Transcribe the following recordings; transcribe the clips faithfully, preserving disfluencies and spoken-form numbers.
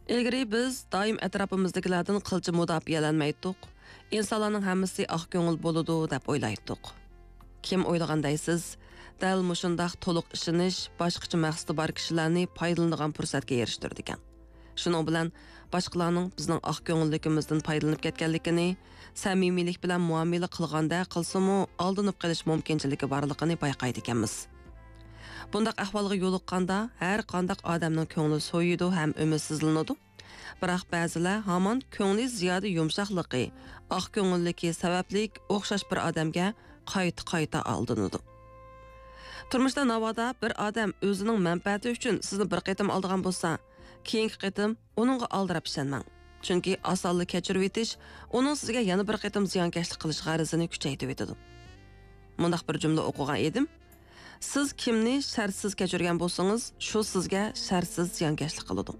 ئىلگىرى بىز دائىم ئەتراپىمىزدىكىلەردىن قىلچە مۇداپىئەلەنمەيتتۇق. ئىنسانلارنىڭ ھەممىسى ئاق كۆڭۈل بولىدۇ، دەپ ئويلايتتۇق. كىم ئويلىغان دەيسىز؟ دەل مۇشۇنداق تولۇق ئىشىنىش باشقىچە مەقسىتى بار كىشىلەرنى پايدىلىنىدىغان پۇرسەتكە ئېرىشتۈرىدىكەن. شۇنىڭ بىلەن باشقىلارنىڭ بىزنىڭ ئاق كۆڭۈللۈكىمىزدىن پايدىلىنىپ كەتكەنلىكىنى، سەمىمىيلىك بىلەن مۇئامىلە قىلغاندەك قىلسىمۇ، ئالدىنىپ قېلىش مۇمكىنچىلىكى بارلىقىنى بايقايدىكەنمىز. بۇنداق ئەھۋالغا يولۇققاندا، ھەر قانداق ئادەمنىڭ كۆڭلى سويىدۇ ھەم ئۈمىدسىزلىنىدۇ. بىراق بەزىلەر ھامان كۆڭلى زىيادە يۇمشاقلىقى، ئاق كۆڭۈللۈكى سەۋەبلىك ئوخشاش بىر ئادەمگە قايتا-قايتا ئالدىنىدۇ. تۇرمۇشتا ناۋادا بىر ئادەم ئۆزىنىڭ مەنپەئەتى ئۈچۈن سىزنى بىر قېتىم ئالدىغان بولسا، كېيىنكى قېتىم ئۇنىڭغا ئالدىراپ ئىشەنمەڭ. چۈنكى ئاسانلا كەچۈرۈۋېتىش ئۇنىڭ سىزگە يەنە بىر قېتىم زىيانكەشلىك قىلىش غەرىزىنى كۈچەيتىۋېتىدۇ. مۇنداق بىر جۈملە ئوقۇغان ئىدىم. سىز كىمنى شەرتسىز كەچۈرگەن بولسىڭىز، شۇ سىزگە شەرتسىز زىيانكەشلىك قىلىدۇ.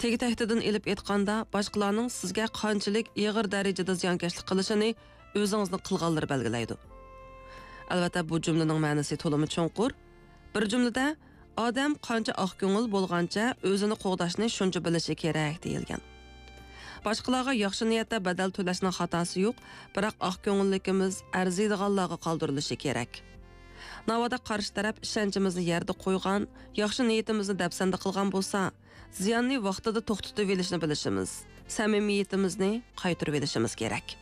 تېگى-تەكتىدىن ئېلىپ ئېيتقاندا، باشقىلارنىڭ سىزگە قانچىلىك ئېغىر دەرىجىدە زىيانكەشلىك قىلىشىنى ئۆزىڭىزنىڭ قىلغانلىرى بەلگىلەيدۇ. ئەلۋەتتە، بۇ جۈملىنىڭ مەنىسى تولىمۇ چوڭقۇر. بىر جۈملىدە، ئادەم قانچە ئاق كۆڭۈل بولغانچە ئۆزىنى قوغداشنى شۇنچە بىلىشى كېرەك، دېيىلگەن. باشقىلارغا ياخشى نىيەتتە بەدەل تۆلەشنىڭ خاتاسى يوق، بىراق ئاق كۆڭۈللۈكىمىز ئەرزىيدىغانلارغا قالدۇرۇلۇشى كېرەك. ناۋادا قارشى تەرەپ ئىشەنچىمىزنى يەردە قويغان، ياخشى نىيىتىمىزنى دەپسەندە قىلغان بولسا، زىياننى ۋاقتىدا توختىتىۋېلىشنى بىلىشىمىز، سەمىمىيىتىمىزنى قايتۇرۇۋېلىشىمىز كېرەك.